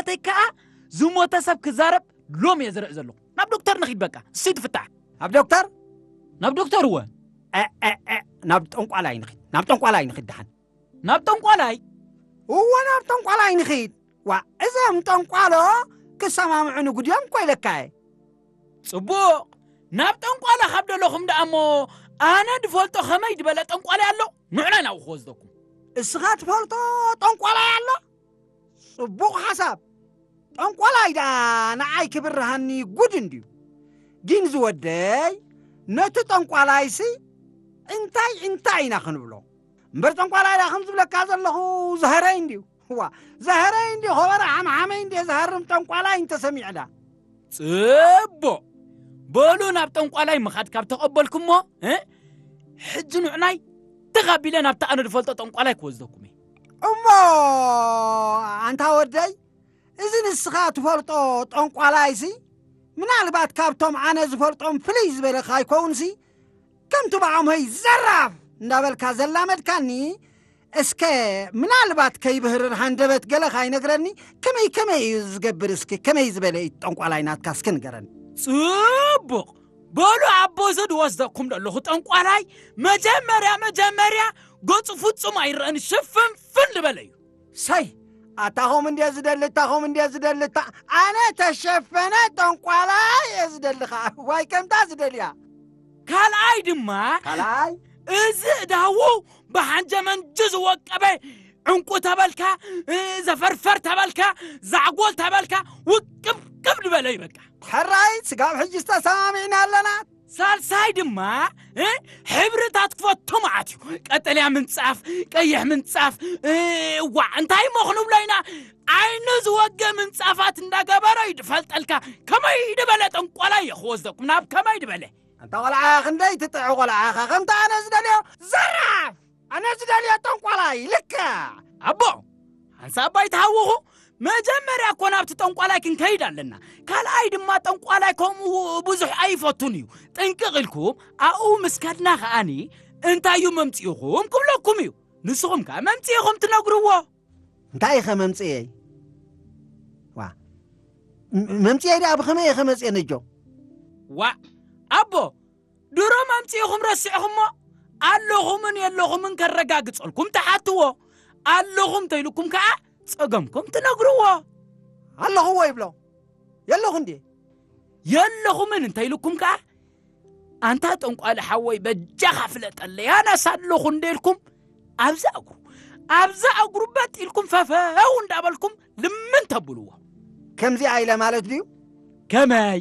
ተይ ከኣ ዝሞተ ሰብ ክዛረብ ሎም እየ ዝርኢ ዘለኹ። ናብ ዶክተር ንኺድ በቃ፣ እሱ ትፍታሕ። ኣብ ዶክተር? ናብ ዶክተር እወ። እ፣ እ፣ እ፣ ናብ ጠንቋላይ ንኺድ፣ ናብ ጠንቋላይ ንኺድ ደሓን። ናብ ጠንቋላይ? እወ፣ ናብ ጠንቋላይ ንኺድ። ዋ፣ እዞም ጠንቋሎ ክሰማምዑ ንጉድዮም እኮ ኢለካ እየ። ጽቡቕ፣ ናብ ጠንቋላ ካብ ደለኹም ደኣ እሞ፣ ኣነ ድፈልጦ ከመይ ዝበለ ጠንቋላይ ኣሎ? ንዑና ናብኡ ክወስደኩም። እስኻ ትፈልጦ ጠንቋላይ ኣሎ? ጽቡቕ ሓሳብ። ጠንቋላይ ደኣ ንዓይ ክብርሃኒ ጉድ እንድዩ። ግን ዝወደይ፣ ነቲ ጠንቋላይሲ እንታይ እንታይ ኢና ክንብሎ? እምበር ጠንቋላይ ደኣ ከም ዝብለካ ዘለኹ ዘህረይ እንድዩ። ዋ፣ ዘህረይ እንድዩ፣ ኸበረ ሓምሓመይ እንድየ ዝሃርም ጠንቋላይ እንተሰሚዐ ደኣ። ጽቡቕ። በሉ ናብ ጠንቋላይ ምኻድ ካብ ተቐበልኩሞ፣ እ? ሕጂ ንዑናይ ተኻቢለ ናብቲ ኣነ ዝፈልጦ ጠንቋላይ ክወስደኩም እየ። እሞ ኣንታ ወደይ፣ እዚ ንስኻ ትፈልጦ ጠንቋላይሲ ምናልባት ካብቶም ኣነ ዝፈልጦም ፍልይ ዝበለ ካይከውንሲ፣ ከምቲ ብዓሞይ ዘራፍ እንዳበልካ ዘላመድካኒ፣ እስከ ምናልባት ከይብህርር ሃንደበት ገለ ካይነግረኒ፣ ከመይ ከመይ እዩ ዝገብር? እስኪ ከመይ ዝበለ እዩ ጠንቋላይ ናትካ እስኪ ንገረኒ። ጽቡቕ። በሉ ኣቦ፣ እዚ ድወስደኩም ዘለኹ ጠንቋላይ መጀመርያ መጀመርያ ገጹ ፍጹም ኣይረአን፣ ሽፍንፍን ዝበለ እዩ። ሰይ፣ ኣታኹም እንድየ ዝደሊ፣ ኣታኹም እንድየ ዝደሊ፣ ኣታ-፣ ኣነ ተሸፈነ ጠንቋላይ እየ ዝደሊ ኸኣ። ዋይ ከምታ ዝደልያ። ካልኣይ ድማ፣ ካልኣይ? እዚ እዳዉ ብሓንጀመንጁ ዝወቀበ ዕንቁ ተበልካ፣ እ፣ ዘፈርፈር ተበልካ፣ ዛዕጎል ተበልካ፣ ውቅብቅብ ዝበለ እዩ በቃ። ሕራይ፣ ስጋብ ሕጂ ዝተሰማሚዕና ኣለና። ሳልሳይ ድማ፣ እ፣ ሕብርታት ክፈቱ መዓት እዩ። ቀጠልያ ምንጻፍ፣ ቀይሕ ምንጻፍ፣ እ፣ ዋዕ፣ እንታይ እሞ ክንብሎ ኢና? ዓይኑ ዝወገ ምንጻፋት እንዳገበረ እዩ ድፈልጠልካ። ከመይ ድበለ ጠንቋላይ እየ ክወስደኩም፣ ናብ ከመይ ድበለ? ኣንታ ቆልዓ፣ ክንደይ ትጥዕ ቆልዓ ኢኻ፣ ከምቲ ኣነ ዝደልዮ። ዘራፍ! ኣነ ዝደልዮ ጠንቋላይ፣ ልክዕ! ኣቦ፣ ሓንሳብ ኣይትሃውኹ። መጀመርያ እኮ ናብቲ ጠንቋላይ ክንከይድ ኣለና። ካልኣይ ድማ ጠንቋላይ ከምኡ ብዙሕ ኣይፈቱን እዩ። ጥንቅቕ ኢልኩም ኣብኡ ምስ ከድና ከኣኒ፣ እንታይ እዩ መምጽኢኹም ክብለኩም እዩ። ንስኹም ከኣ መምጽኢኹም ትነግርዎ። እንታይ ኢኸ መምጽኤይ? ዋ፣ ም-፣ መምጽኤይ ደኣ ብኸመይ ኢኸ መጽኤ ነጆ? ዋእ፣ ኣቦ፣ ድሮ መምጽኢኹም ረሲዕኹሞ? ኣለኹምን የለኹምን ከረጋግጸልኩም ትሓትዎ። ኣለኹም እንተኢሉኩም ከኣ ጸገምኩም ትነግርዎ። ኣለኹዎ ይብሎ። የለኹ እንዴ? የለኹምን እንተኢሉኩም ከኣ፣ ኣንታ ጠንቋሊ ሓወይ በጃኻ ፍለጠለይ፣ ኣነስ ኣለኹ እንዴ ኢልኩም ኣብዛ እግሩ፣ ኣብዛ እግሩ በጥ ኢልኩም ፈፈው እንዳበልኩም ልምን ተብልዎ። ከምዚኣ ኢለ ማለት ድዩ? ከመይ?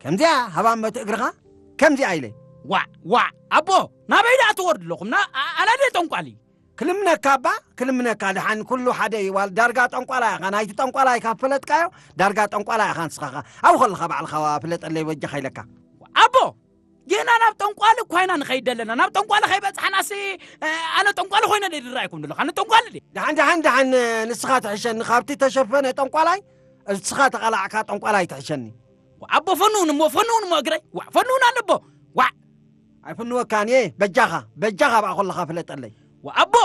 ከምዚኣ ሃባም መት እግርኻ ከምዚኣ ኢለ። ዋዕ፣ ዋዕ፣ ኣቦ፣ ናበይ ደኣ ትወርዱ ኣለኹም? ና-፣ ኣ-፣ ኣነ ድየ ጠንቋሊ? ክልምነካ እባ፣ ክልምነካ። ደሓን ኩሉ ሓደ እዩ። ዋል ዳርጋ ጠንቋላ ኢኻ። ናይቲ ጠንቋላ ኢኻ ፈለጥካዮ፣ ዳርጋ ጠንቋላ ኢኻ ንስኻ ኸ። ኣብኡ ከለኻ ባዕልኻ ዋ ፍለጠለይ በጃኻ ኢለካ። ኣቦ፣ ጌና ናብ ጠንቋሊ እኳ ኢና ንኸይድ ኣለና። ናብ ጠንቋሊ ከይበጽሓናሲ፣ እ፣ ኣነ ጠንቋሊ ኮይነ ድየ ዝረኣየኩም ዘለኹ? ኣነ ጠንቋሊ ድየ? ደሓን፣ ደሓን፣ ደሓን፣ ንስኻ ትሕሸኒ። ካብቲ ተሸፈነ ጠንቋላይ፣ ንስኻ ተቓላዕካ ጠንቋላይ ትሕሸኒ። ኣቦ ፈንውን እሞ፣ ፈንውን እሞ እግረይ። ዋዕ፣ ፈንውን ኣነ ኣቦ። ዋዕ። ኣይፍንወካን እየ። በጃኻ፣ በጃኻ ብኣ ከለኻ ፍለጠለይ። ዋዕ፣ ኣቦ፣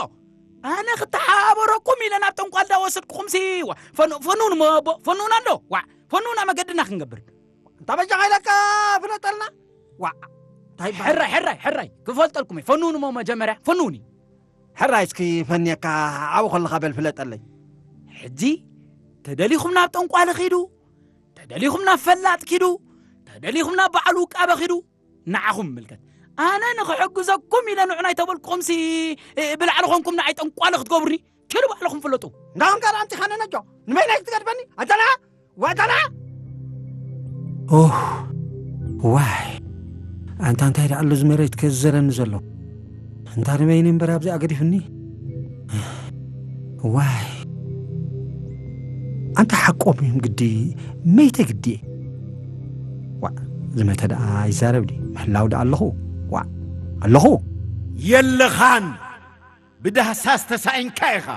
ኣነ ክተሓባበረኩም ኢለ ናብ ጠንቋል ዳ ወሰድኩኹምሲ። ዋዕ፣ ፈን-፣ ፈንውን እሞ ኣቦ፣ ፈንውን ኣሎ። ዋዕ፣ ፈንውና መገድና ክንገብር። እንታ በጃኻ ኢለካ ፍለጠልና። ዋዕ፣ እንታይ ይበሃል? ሕራይ፣ ሕራይ፣ ሕራይ፣ ክፈልጠልኩም እየ። ፈንውን እሞ መጀመርያ፣ ፈንውኒ። ሕራይ እስኪ ፈንየካ፣ ኣብኡ ከለኻ በል ፍለጠለይ። ሕጂ ተደሊኹም ናብ ጠንቋሊ ኺዱ፣ ተደሊኹም ናብ ፈላጥ ኪዱ፣ ተደሊኹም ናብ በዓል ውቃበ ኺዱ፣ ንዓኹም ይምልከት። ኣነ ንኽሕግዘኩም ኢለ ንዑ ናይ ተበልኩኹምሲ፣ እ፣ ብላዕሊ ኾንኩም ንዓይ ጠንቋሊ ክትገብሩኒ፣ ኪዱ ባዕልኹም ፍለጡ። እንዳኹም ጋር ኣምጺኻኒ ነጆ፣ ንመይናይ ክትገድፈኒ? ኣንተና? ወተና? ኦህ፣ ዋይ። ኣንታ እንታይ ደኣ ኣሎ እዚ መሬት ከዝዘረኒ ዘሎ? እንታ ንበይኒ እምበር ኣብዚኣ ገዲፍኒ? ዋይ። ኣንታ ሓቆም እዮም ግዲ፣ መይተ ግዲ። ዋእ፣ ዝመተ ደኣ ይዛረብ ድዩ? ምሕላው ደኣ ኣለኹ። ዋእ፣ ኣለኹ። የለኻን። ብዳህሳስ ተሳኢንካ ኢኻ።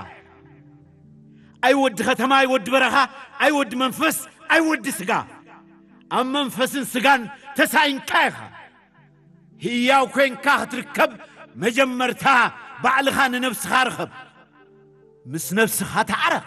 ኣይ ወዲ ከተማ፣ ኣይ ወዲ በረኻ፣ ኣይ ወዲ መንፈስ፣ ኣይ ወዲ ስጋ። ኣብ መንፈስን ስጋን ተሳኢንካ ኢኻ። ህያው ኮይንካ ክትርከብ መጀመርታ ባዕልኻ ንነብስኻ ርኸብ። ምስ ነብስኻ ተዓረቕ።